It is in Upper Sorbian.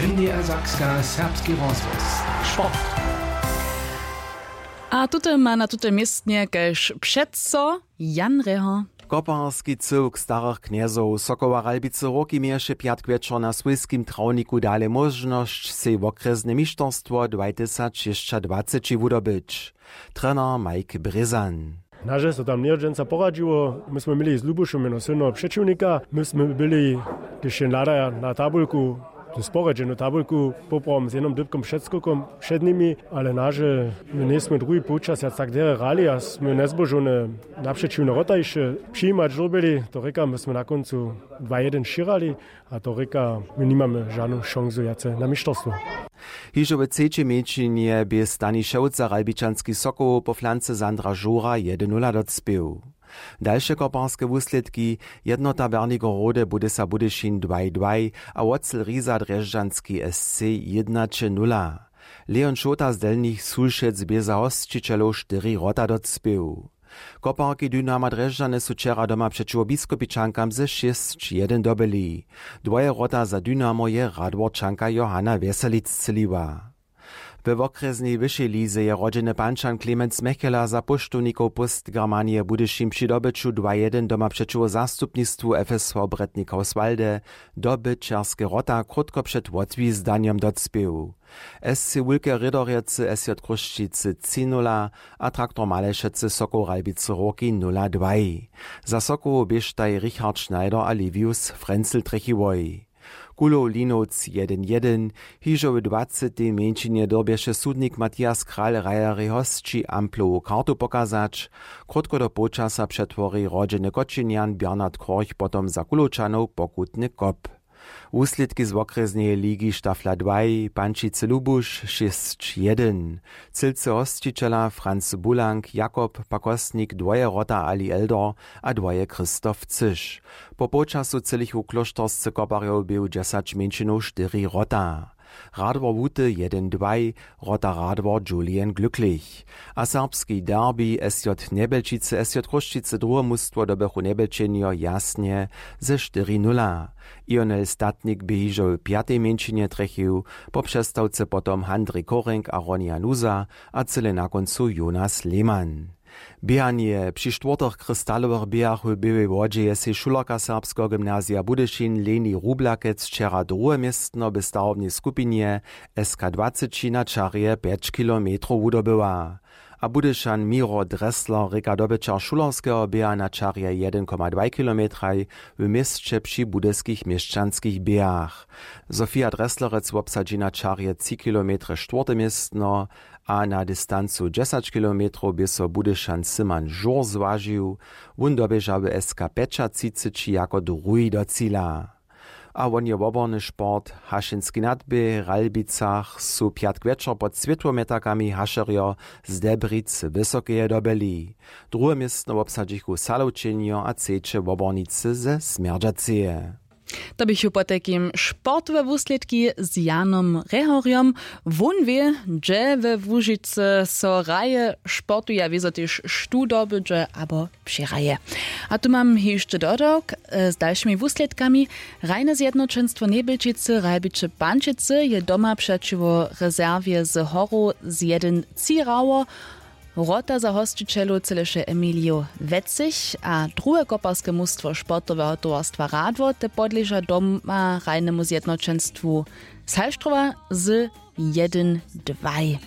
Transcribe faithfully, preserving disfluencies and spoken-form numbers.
N D R Sakska, serbski rozhłos. Sport. A tute ma na tute městnje kaž přeco Jan Reho. Koparski cyłk starych knjezow Sokoła Ralbicy Hórki měješe pjatk wječor na swójskim trawniku dale móžnosć, sej wokrjesne mišterstwo dwaj tysac šěsćadwaceći wudobyć. Trener Mike Brězan. Naže so tam njehodźenca poradźiło. My smy měli z Lubušom jeno sylneho přećiwnika. My smy byli, kiž jen hladaja na tabulku, tu sporedźenu tabulku, poprawom z jednym dypkom před skokom před nimi, ale naže my njejsmy druhi połčas wjac tak derje hrali a smy njezbožowne napřećiwne wrota hišće přijimać dyrbjeli. To rěka, my smy na kóncu dwa jedyn wšěrali. A to rěka, my nimamy žanu šansu wjace na mišterstwo. Hižo w třećej mjeńšinje bě Stani Šewca Ralbičanskich Sokołow po flance Sandra Žura jedyn nula docpěł. Dalše koparske wuslědki: Jednota Bernigerode Budysa Budyšin dwaj dwaj a Wocel Riza Drježdźanski S C jědnaće nula. Leon Šołta z Delnich Sulšec bě za hosćićelow štyri wrota docpěł. Koparki Dynama Drježdźany su wčera doma přećiwo Biskopičankam ze šěsć jedyn dobyli. Dwoje wrota za Dynamo je Radworčanka Johanna Wjeselic strzěliła. We wokrjesnej wyšej lize je rodźeny Pančan Clemens Mechela za póštownikow Post Germanije Budyšin při dobyću dwa jedyn doma přećiwo zastupnistwu F S V Bretnik Hauswalde dobyćerske wrota krótko před wotwizdanjom docpěł. S C Wulke Rědorjecy S J Chrósćicy tři nula a Traktor Malešecy Sokoł Ralbicy Hórki nula dwaj. Za Sokołow běštaj Richard Schneider a Livius Frenzel trjechiłoj. Kulow Linowc jedyn jedyn. Hižo w dwacetej mjeńšinje dyrbješe sudnik Matthias Kral Reieri hosći amplowu kartu pokazać. Krótko do połčasa přetwori rodźeny Kočinjan Bernard Korch potom za Kulowčanow pokutny kop. Wuslědki z wokrjesneje ligi Stafla dwaj: Pančicy Lubuš šěsć jedyn, Cylcy hosćićela Franz Bulank, Jakob Pakostnik dwoje wrota, Ali Eldor a dwoje Christoph Cyš. Po połčasu třělichu klóšterscy koparjow běhu dźesać mjeńšinow štyri wrota. Radwor Wuty jedyn dwaj, wrota Radwor Julian Glücklich. A serbski derbi S J Njebelčicy S J Chrósćicy druhe mustwo dobychu Njebelčenjo jasnje ze štyri nula. Ionel Statnik bě hižo w pjatej mjeńšinje trjechił, po přestawce potom Handrij Korenk a Ronja Nuza a cyle na kóncu Jonas Lehmann. Běhanje. Při štwórtych krystalowych běhach w Běłej Wodźe je sej šulerka Serbskeho gymnazija Budyšin Leni Rublakec wčera druhe městno w starobnej skupinje S K dwaceći na čarje pjeć kilometrow wudobyła. A Budyšan Miro Dressler rěka dobyćer šulerskeho běha na čarje jedyn koma dwaj kilometraj w měsće při budyskich měšćanskich běhach. Sofia Dresslerec wobsadźi na čarje tři kilometre štwórte městno a na distancu dźesać kilometrow bě so Budyšan Simon Žur zwažił. Wón doběža w S K pjećatřiceći jako druhi do cila. A won je woborny sport. Hašenski nadběh w Ralbicach su pjatk wječor pod swětłomjetarkami hašerjo z Debric Wysokeje dobyli. Druhe městno wobsadźichu Salowčenjo a třeće wobornicy ze Smjerdźaceje. To běchu potajkim sportowe wuslědki z Janom Rehorjom. Wón wě, hdźe we Łužicy so hraje, sportuje a wězo tež štó dobydźe abo přihraje. A tu mam hišće dodawk, e, z dalšimi wuslědkami. Hrajne zjednoćenstwo Njebelčicy Ralbiće Pančicy je doma přećiwo rezerwje z Horow z jedyn tři hrało. Wrota za hosćićelow třěleše Emilio Wetzig a druhe koparske mustwo sportoweho towarstwa Radwor te podleža doma hrajnemu zjednoćenstwu z Halštrowa z jedyn dwaj.